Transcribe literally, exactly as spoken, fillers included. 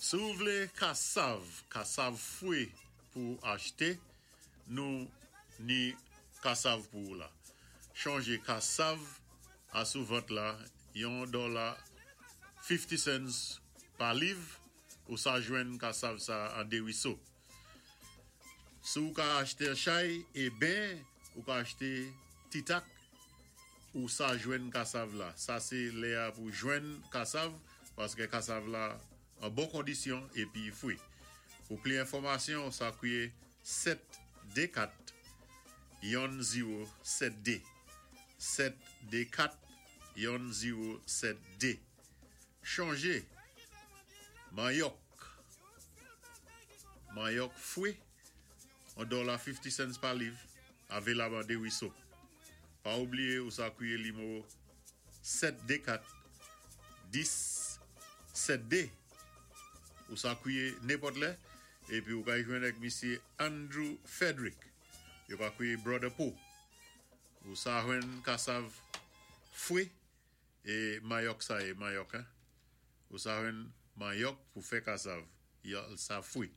Si ou vlé kasav, kasav fwi pou achté, nou ni kasav pou ou la. Chonjé kasav asou vant la, yon dola fifty cents pa liv, ou sa jwenn kasav sa an Desruisseaux. Si ou ka achté chay, é ben, ou ka achté ti tak, ou sa jwenn kasav la. Sa sé lè a pou jwenn kasav, paské kasav la an bon kondisyon épi fwi. Pou pli enfòmasyon, sa kwié sèt dé kat yon zewo sèt dé. sèt dé kat yon zewo sèt dé. Chonjé, manyòk, manyòk fwi, yon dola fifty cents pa liv, avélab an Desruisseaux. Pa oubliyé ou sa kwié nimewo sèt dé kat dis sèt dé. Ou sa kwié nenpòt lè, épi ou ka jwenn ak misyé Andrew Frederick. Yo ka kwié Brother Poe. Ou sa jwenn kasav fwi é manyòk sa é manyòk, hein. Ou sa jwenn manyòk pou fè kasav. Yo sa fwi.